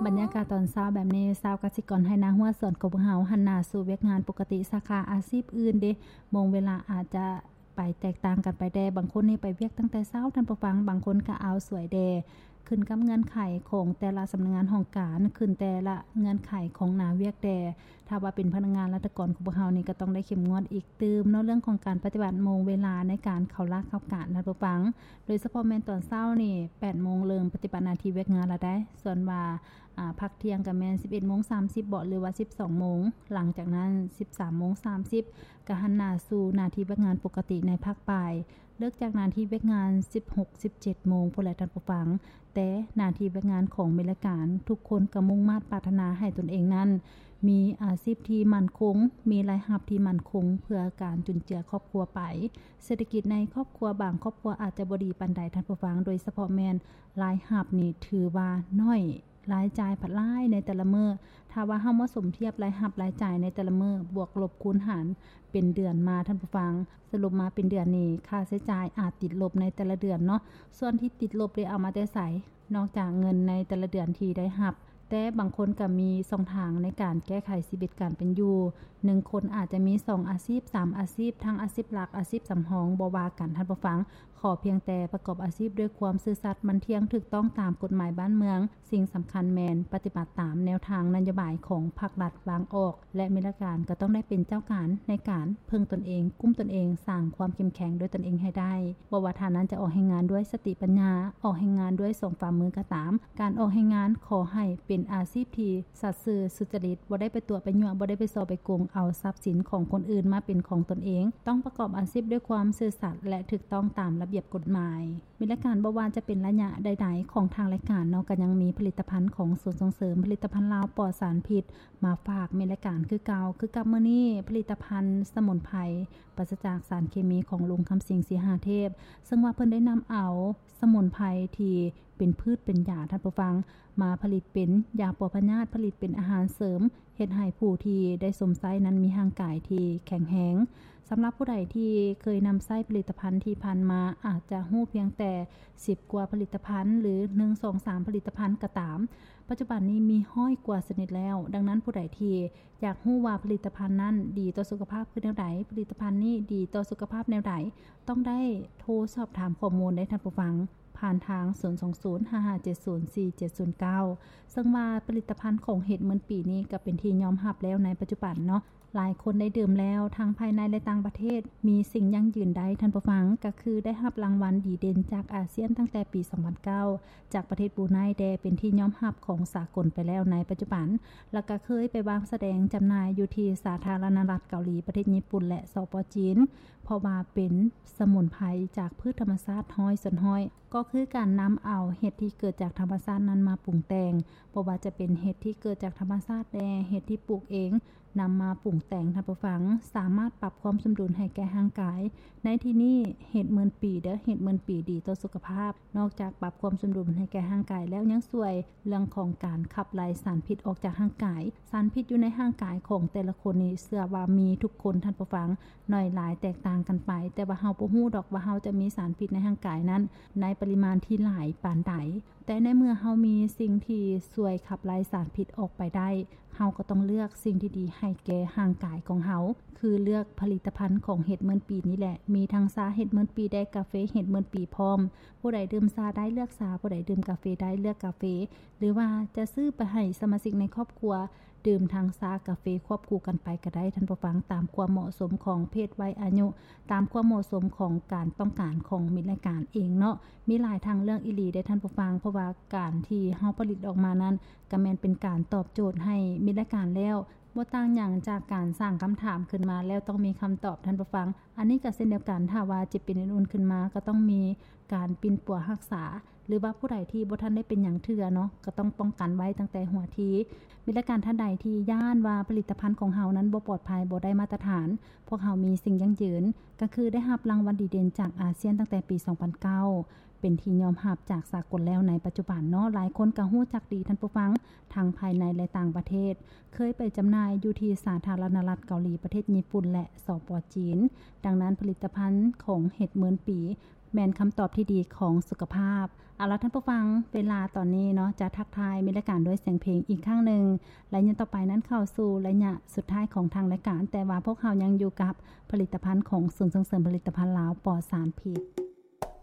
ບັນຍາກາດຕອນເຊົ້າແບບນີ້ ຊາວກະສິກອນໄຮ່ນາຫົວສວນຂອງພວກເຮົາ ຫັນໜ້າສູ່ວຽກງານປົກກະຕິ ສາຂາອາຊີບອື່ນເດ ໂມງເວລາອາດຈະໄປແຕກຕ່າງກັນໄປແດ່. ບາງຄົນນີ້ໄປວຽກຕັ້ງແຕ່ເຊົ້າ ທ່ານຜູ້ຟັງ, ບາງຄົນກະອາວສວຍແດ່. ຂຶ້ນກັບເງື່ອນໄຂຂອງແຕ່ລະສຳນັກງານຫ້ອງການ, ຂຶ້ນແຕ່ລະເງື່ອນໄຂຂອງໜ້າວຽກແດ່. ຖ້າວ່າເປັນພະນັກງານລັດຖະກອນຂອງພວກເຮົານີ້ ກໍຕ້ອງໄດ້ເຂັ້ມງວດອີກຕື່ມເນາະ ເລື່ອງຂອງການປະຕິບັດໂມງເວລາໃນການເຂົ້າລາເຂົ້າການ ທ່ານຜູ້ຟັງ. ໂດຍສະເພາະແມ່ນຕອນເຊົ້ານີ້ ແປດໂມງເລີ່ມປະຕິບັດໜ້າທີ່ວຽກງານແລ້ວໄດ໋. ສ່ວນວ່າ ອາ ພັກທ່ຽງກໍແມ່ນສິບເອັດໂມງສາມສິບເບາະ ຫຼືວ່າສິບສອງໂມງ, ຫຼັງຈາກນັ້ນສິບສາມໂມງສາມສິບ ກໍຫັນໜ້າສູ່ໜ້າທີ່ວຽກງານປົກກະຕິໃນພາກບ່າຍ. ເລີກຈາກໜ້າທີ່ວຽກງານສິບຫົກ ສິບເຈັດໂມງພຸ້ນແຫຼະທ່ານຜູ້ຟັງ, ແຕ່ໜ້າທີ່ວຽກງານຂອງເມລະການ ທຸກຄົນກໍມຸ່ງມາດປາດຖະໜາໃຫ້ຕົນເອງນັ້ນ ມີອາຊີບທີ່ໝັ້ນຄົງ, ມີລາຍຮັບທີ່ໝັ້ນຄົງ ເພື່ອການຈຸນເຈືອຄອບຄົວໄປ. ເສດຖະກິດໃນຄອບຄົວບາງຄອບຄົວອາດຈະບໍ່ດີປານໃດທ່ານຜູ້ຟັງ, ໂດຍສະເພາະແມ່ນລາຍຮັບນີ້ຖືວ່າໜ້ອຍ, ລາຍຈ່າຍພັດຫຼາຍໃນແຕ່ລະມື້. ຖ້າວ່າເຮົາມາສົມທຽບລາຍຮັບລາຍຈ່າຍໃນແຕ່ລະມື້ ບວກລົບຄູນຫານເປັນເດືອນມາທ່ານຜູ້ຟັງ, ສະຫຼຸບມາເປັນເດືອນນີ້ ຄ່າໃຊ້ຈ່າຍອາດຕິດລົບໃນແຕ່ລະເດືອນເນາະ. ສ່ວນທີ່ຕິດລົບໄດ້ເອົາມາແຕ່ໃສ? ນອກຈາກເງິນໃນແຕ່ລະເດືອນທີ່ໄດ້ຮັບ, ແຕ່ບາງຄົນກໍມີຊ່ອງທາງໃນການແກ້ໄຂຊີວິດການເປັນຢູ່. ໜຶ່ງຄົນອາດຈະມີສອງອາຊີບ, ສາມອາຊີບ, ທັງອາຊີບຫຼັກ, ອາຊີບສຳຮອງ, ບໍ່ວ່າກັນທ່ານຜູ້ຟັງ, ຂໍພຽງແຕ່ປະກອບອາຊີບດ້ວຍຄວາມຊື່ສັດ, ໝັ້ນທ່ຽງ, ຖືກຕ້ອງຕາມກົດໝາຍບ້ານເມືອງ. ສິ່ງສຳຄັນແມ່ນປະຕິບັດຕາມແນວທາງນະໂຍບາຍຂອງພັກລັດວາງອອກ ແລະ ເມລະການກໍຕ້ອງໄດ້ເປັນເຈົ້າການໃນການເພິ່ງຕົນເອງ, ກຸ້ມຕົນເອງ, ສ້າງຄວາມເຂັ້ມແຂງດ້ວຍຕົນເອງໃຫ້ໄດ້. ບໍ່ວ່າທ່ານນັ້ນຈະອອກແຮງງານດ້ວຍສະຕິປັນຍາ, ອອກແຮງງານດ້ວຍສອງຝ່າມືກໍຕາມ, ການອອກແຮງງານຂໍໃຫ້ເປັນອາຊີບທີ່ສັດຊື່ສຸຈະລິດ, ບໍ່ໄດ້ໄປຕົວະໄປຍົວະ, ບໍ່ໄດ້ໄປສໍ້ໄປໂກງເອົາຊັບສິນຂອງຄົນອື່ນມາເປັນຂອງຕົນເອງ, ຕ້ອງປະກອບອາຊີບດ້ວຍຄວາມຊື່ສັດ ແລະ ຖືກຕ້ອງຕາມລະບຽບກົດໝາຍ. ເມລະການບໍ່ວ່າຈະເປັນໄລຍະໃດໆຂອງທາງລາຍການເນາະ ກໍຍັງມີຜະລິດຕະພັນຂອງສູນສົ່ງເສີມຜະລິດຕະພັນລາວປອດສານພິດມາຝາກເມລະການຄືເກົ່າ. ຄືກັບມື້ນີ້ ຜະລິດຕະພັນສະໝຸນໄພປາສະຈາກສານເຄມີຂອງລຸງຄຳສິງ ສີຫາເທບ ເຊິ່ງວ່າເພິ່ນໄດ້ນຳເອົາສະໝຸນໄພທີ່ເປັນພືດເປັນຢາ ທ່ານຜູ້ຟັງ, ມາຜະລິດເປັນຢາປົວພະຍາດ, ຜະລິດເປັນອາຫານເສີມ, ເຮັດໃຫ້ຜູ້ທີ່ໄດ້ຊົມໃຊ້ນັ້ນມີຮ່າງກາຍທີ່ແຂງແຮງ. ສຳລັບຜູ້ໃດທີ່ເຄີຍນຳໃຊ້ຜະລິດຕະພັນທີ່ຜ່ານມາ ອາດຈະຮູ້ພຽງແຕ່ສິບກວ່າຜະລິດຕະພັນ ຫຼື ໜຶ່ງ ສອງ ສາມ ຜະລິດຕະພັນກໍຕາມ, ປັດຈຸບັນນີ້ມີຮ້ອຍກວ່າຊະນິດແລ້ວ. ດັ່ງນັ້ນ ຜູ້ໃດທີ່ຢາກຮູ້ວ່າຜະລິດຕະພັນນັ້ນດີຕໍ່ສຸຂະພາບຄືແນວໃດ, ຜະລິດຕະພັນນີ້ດີຕໍ່ສຸຂະພາບແນວໃດ, ຕ້ອງໄດ້ໂທສອບຖາມຂໍ້ມູນໄດ້ທ່ານຜູ້ຟັງ ຜ່ານທາງ ສູນສອງສູນ ຫ້າຫ້າເຈັດສູນ ສີ່ເຈັດສູນເກົ້າ ເຊິ່ງວ່າຜະລິດຕະພັນຂອງເຫັດໝື່ນປີນີ້ກໍເປັນທີ່ຍອມຮັບແລ້ວໃນປັດຈຸບັນເນາະ. ຫຼາຍຄົນໄດ້ດື່ມແລ້ວ ທັງພາຍໃນ ແລະ ຕ່າງປະເທດ. ມີສິ່ງຢັ້ງຢືນໄດ້ທ່ານຜູ້ຟັງ, ກໍຄືໄດ້ຮັບລາງວັນດີເດັ່ນຈາກອາຊຽນຕັ້ງແຕ່ປີສອງພັນເກົ້າ ຈາກປະເທດບຣູໄນແດ່ ເປັນທີ່ຍອມຮັບຂອງສາກົນໄປແລ້ວໃນປັດຈຸບັນ, ແລ້ວກໍເຄີຍໄປວາງສະແດງຈຳໜ່າຍຢູ່ທີ່ສາທາລະນະລັດເກົາຫຼີ, ປະເທດຍີ່ປຸ່ນ ແລະ ສປ ຈີນ, ເພາະວ່າເປັນສະໝຸນໄພຈາກພືດທຳມະຊາດຮ້ອຍສ່ວນຮ້ອຍ. ກໍຄືການນຳເອົາເຫັດທີ່ເກີດຈາກທຳມະຊາດນັ້ນມາປຸງແຕ່ງ, ບໍ່ວ່າຈະເປັນເຫັດທີ່ເກີດຈາກທຳມະຊາດແດ່, ເຫັດທີ່ປູກເອງ, ນຳມາປຸງແຕ່ງ, ທ່ານຜູ້ຟັງ, ສາມາດປັບຄວາມສົມດຸນໃຫ້ແກ່ຮ່າງກາຍ. ໃນທີ່ນີ້ເຫັດໝື່ນປີເດີ້, ເຫັດໝື່ນປີດີຕໍ່ສຸຂະພາບ. ນອກຈາກປັບຄວາມສົມດຸນໃຫ້ແກ່ຮ່າງກາຍແລ້ວ, ຍັງຊ່ວຍເລື່ອງຂອງການຂັບໄລ່ສານພິດອອກຈາກຮ່າງກາຍ. ສານພິດຢູ່ໃນຮ່າງກາຍຂອງແຕ່ລະຄົນນີ້ ເຊື່ອວ່າມີທຸກຄົນ, ທ່ານຜູ້ຟັງ. ໜ້ອຍຫຼາຍແຕກຕ່າງກັນໄປ, ແຕ່ວ່າເຮົາບໍ່ຮູ້ດອກວ່າເຮົາຈະມີສານພິດໃນຮ່າງກາຍນັ້ນໃນປະລິມານທີ່ຫຼາຍປານໃດ. ແຕ່ໃນເມື່ອເຮົາມີສິ່ງທີ່ຊ່ວຍຂັບໄລ່ສານພິດອອກໄປໄດ້, ເຮົາກໍຕ້ອງເລືອກສິ່ງທີ່ດີໃຫ້ແກ່ຮ່າງກາຍຂອງເຮົາ, ຄືເລືອກຜະລິດຕະພັນຂອງເຫັດໝື່ນປີນີ້ແຫຼະ. ມີທັງຊາເຫັດໝື່ນປີແດ່, ກາເຟເຫັດໝື່ນປີພ້ອມ. ຜູ້ໃດດື່ມຊາໄດ້ເລືອກຊາ, ຜູ້ໃດດື່ມກາເຟໄດ້ເລືອກກາເຟ, ຫຼືວ່າຈະຊື້ໄປໃຫ້ສະມາຊິກໃນຄອບຄົວ ດື່ມທັງຊາກາເຟຄວບຄູ່ກັນໄປກໍໄດ້, ທ່ານຜູ້ຟັງ, ຕາມຄວາມເໝາະສົມຂອງເພດໄວອາຍຸ, ຕາມຄວາມເໝາະສົມຂອງການຕ້ອງການຂອງມິດລາຍການເອງເນາະ. ມີຫຼາຍທາງເລືອກອີ່ຫຼີເດ້ທ່ານຜູ້ຟັງ, ເພາະວ່າການທີ່ເຮົາຜະລິດອອກມານັ້ນ ກໍແມ່ນເປັນການຕອບໂຈດໃຫ້ມິດລາຍການແລ້ວ, ບໍ່ຕ່າງຫຍັງຈາກການສ້າງຄຳຖາມຂຶ້ນມາແລ້ວຕ້ອງມີຄຳຕອບ, ທ່ານຜູ້ຟັງ. ອັນນີ້ກໍເຊັ່ນດຽວກັນ, ຖ້າວ່າເຈັບເປັນອື່ນໆຂຶ້ນມາ ກໍຕ້ອງມີການປິ່ນປົວຮັກສາ, ຫຼືວ່າຜູ້ໃດທີ່ບໍ່ທັນໄດ້ເປັນຫຍັງເທື່ອເນາະ, ກໍຕ້ອງປ້ອງກັນໄວ້ຕັ້ງແຕ່ຫົວທີ. ມີລາຍການທ່ານໃດທີ່ຢ້ານວ່າຜະລິດຕະພັນຂອງເຮົານັ້ນບໍ່ປອດໄພ, ບໍ່ໄດ້ມາດຕະຖານ, ພວກເຮົາມີສິ່ງຢັ້ງຢືນ, ກໍຄືໄດ້ຮັບລາງວັນດີເດັ່ນຈາກອາຊຽນຕັ້ງແຕ່ປີສອງພັນເກົ້າ ເປັນທີ່ຍອມຮັບຈາກສາກົນແລ້ວໃນປັດຈຸບັນເນາະ. ຫຼາຍຄົນກໍຮູ້ຈັກດີ, ທ່ານຜູ້ຟັງ, ທັງພາຍໃນ ແລະ ຕ່າງປະເທດ. ເຄີຍໄປຈຳໜ່າຍຢູ່ທີ່ສາທາລະນະລັດເກົາຫຼີ, ປະເທດຍີ່ປຸ່ນ ແລະ ສປ ຈີນ. ດັ່ງນັ້ນ, ຜະລິດຕະພັນຂອງເຫັດໝື່ນປີ ແມ່ນຄຳຕອບທີ່ດີຂອງສຸຂະພາບ. ເອົາລະທ່ານຜູ້ຟັງ, ເວລາຕອນນີ້ເນາະ ຈະທັກທາຍມິດລາຍການດ້ວຍສຽງເພງອີກຄັ້ງໜຶ່ງ ໄລຍະຕໍ່ໄປນັ້ນເຂົ້າສູ່ໄລຍະສຸດທ້າຍຂອງທາງລາຍການ, ແຕ່ວ່າພວກເຮົາຍັງຢູ່ກັບຜະລິດຕະພັນຂອງສູນສົ່ງເສີມຜະລິດຕະພັນລາວ ປອດສານພິດ.